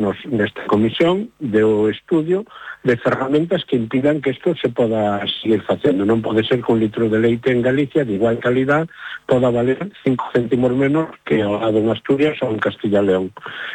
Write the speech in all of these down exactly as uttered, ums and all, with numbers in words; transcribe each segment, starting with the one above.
nos, nesta comisión do estudio de ferramentas que impidan que isto se poda seguir facendo. Non pode ser que un litro de leite en Galicia de igual calidad poda valer cinco céntimos menos que ao lado en Asturias ou en Castilla e León.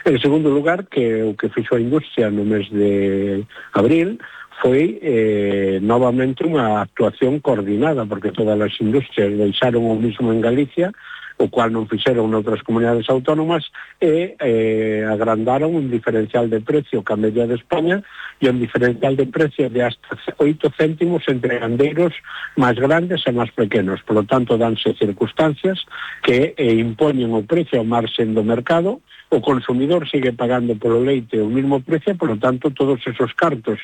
En segundo lugar, que o que fixo a industria no mes de abril foi eh, novamente unha actuación coordinada, porque todas as industrias deixaron o mismo en Galicia, o cual non fixeron noutras comunidades autónomas, e eh, agrandaron un diferencial de precio que a media de España e un diferencial de precio de hasta oito céntimos entre gandeiros máis grandes e máis pequenos. Por lo tanto, danse circunstancias que eh, impoñen o precio ao marxen do mercado, o consumidor sigue pagando polo leite o mismo precio, por lo tanto, todos esos cartos,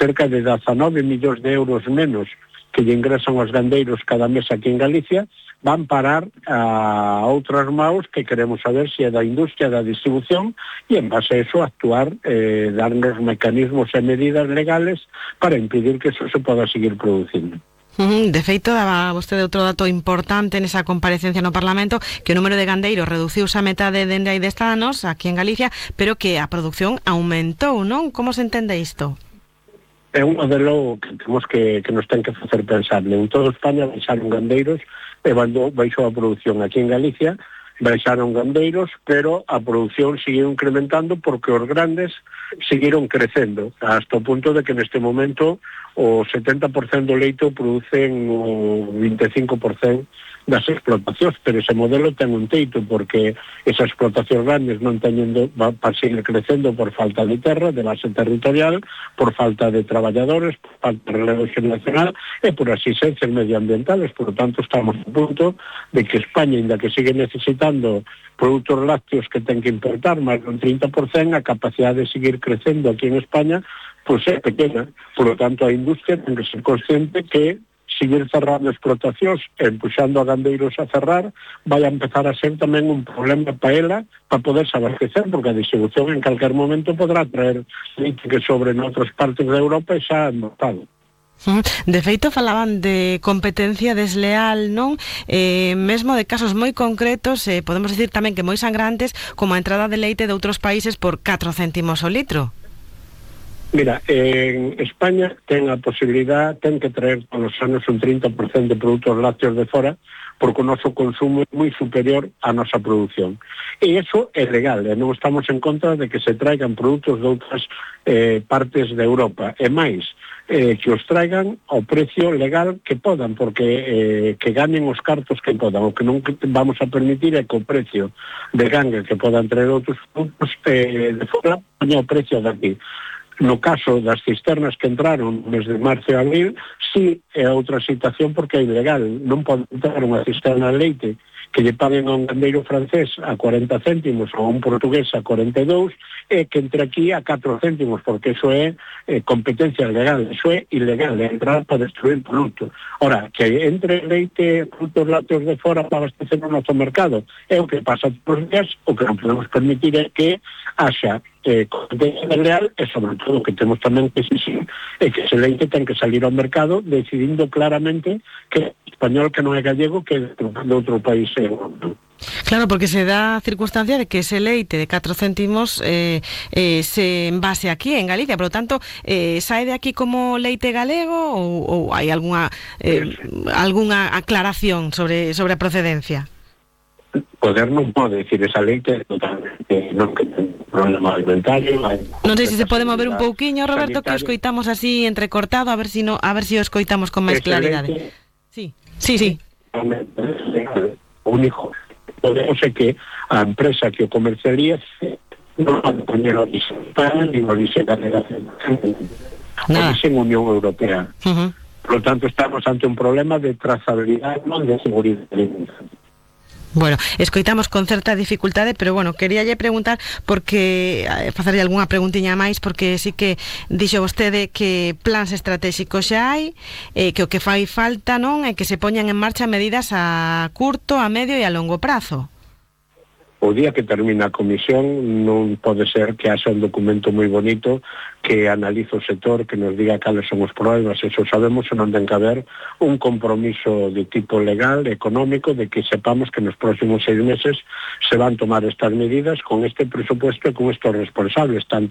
cerca de dezanove millóns de euros menos que lle ingresan aos gandeiros cada mes aquí en Galicia, van parar a outras maus que queremos saber se é da industria, da distribución, e en base a eso actuar, eh, darnos mecanismos e medidas legales para impedir que eso se poda seguir producindo. De feito, daba vostede outro dato importante nesa comparecencia no Parlamento, que o número de gandeiros reduciuse a metade dende hai dez anos aquí en Galicia, pero que a produción aumentou, non? Como se entende isto? É un modelo que temos que, que nos ten que facer pensar. En toda España baixaron gandeiros e baixou a produción. Aquí en Galicia baixaron gandeiros, pero a produción seguiu incrementando porque os grandes seguiron crecendo, hasta o punto de que neste momento o setenta por ciento do leite o producen o vinte e cinco por ciento das explotacións, pero ese modelo ten un teito, porque esas explotacións grandes non teñendo para seguir crecendo por falta de terra, de base territorial, por falta de traballadores, por falta de relevo xeracional e por asistencias medioambientales. Por lo tanto, estamos a punto de que España, ainda que sigue necesitando produtos lácteos que ten que importar máis dun trinta por ciento, a capacidade de seguir crecendo aquí en España pois é pequena. Por lo tanto, a industria ten que ser consciente que seguir cerrando explotacións e empuxando a gandeiros a cerrar vai a empezar a ser tamén un problema para ela para poder abastecer, porque a distribución en calquer momento podrá traer leite que sobre en outras partes de Europa e xa é notado. De feito, falaban de competencia desleal, non? Eh, mesmo de casos moi concretos, eh, podemos dicir tamén que moi sangrantes, como a entrada de leite de outros países por catro céntimos o litro. Mira, en España ten a posibilidad, ten que traer todos os anos un trinta por ciento de produtos lácteos de fora, porque o noso consumo é moi superior á nosa produción. E iso é legal, e non estamos en contra de que se traigan produtos de outras eh, partes de Europa. E máis, eh, que os traigan ao precio legal que podan, porque eh, que ganen os cartos que podan. O que non vamos a permitir é que o precio de ganga que podan traer outros produtos eh, de fora poña o precio de aquí. No caso das cisternas que entraron desde marzo e abril, sí é outra situación porque é ilegal. Non pode entrar unha cisterna de leite que lle paguen a un gandeiro francés a cuarenta céntimos ou a un portugués a cuarenta e dous e que entre aquí a catro céntimos, porque iso é eh, competencia legal, iso é ilegal, é entrar para destruir produto. Ora, que entre leite, produtos lácteos de fora para abastecer o noso mercado, é o que pasa todos os días. O que non podemos permitir é que haxa eh, competencia desleal e, sobre todo, que temos tamén que exigir é que ese leite ten que salir ao mercado decidindo claramente que español que non é gallego que é de outro país europeo. Claro, porque se dá a circunstancia de que ese leite de catro céntimos eh, eh, se envase aquí en Galicia, por lo tanto, eh, sae de aquí como leite galego ou, ou hai algunha eh, algunha aclaración sobre sobre a procedencia? Poder non pode decir esa leite totalmente non que ten problema alimentario. Non sei se se pode mover un pouquiño, Roberto, sanitario, que o escoitamos así entrecortado, a ver si no, a ver si o escoitamos con máis claridade. Sí, sí, sí. O único podemos é que a empresa que o comercialice non pode poñer orixe para nin orixe galega, orixe en Unión Europea. Uh-huh. Por lo tanto, estamos ante un problema de trazabilidade, non de seguridade alimentaria. Bueno, escoitamos con certa dificultade, pero bueno, queríalle preguntar porque eh, facerlle algunha preguntiña máis, porque sí que dixo vostede que plans estratégicos xa hai, eh, que o que fai falta, non, é que se poñan en marcha medidas a curto, a medio e a longo prazo. O día que termina a comisión non pode ser que haxa un documento moi bonito que analiza o sector, que nos diga cales son os problemas, eso sabemos, e non ten que haber un compromiso de tipo legal, económico, de que sepamos que nos próximos seis meses se van tomar estas medidas con este presupuesto e con estos responsables, tanto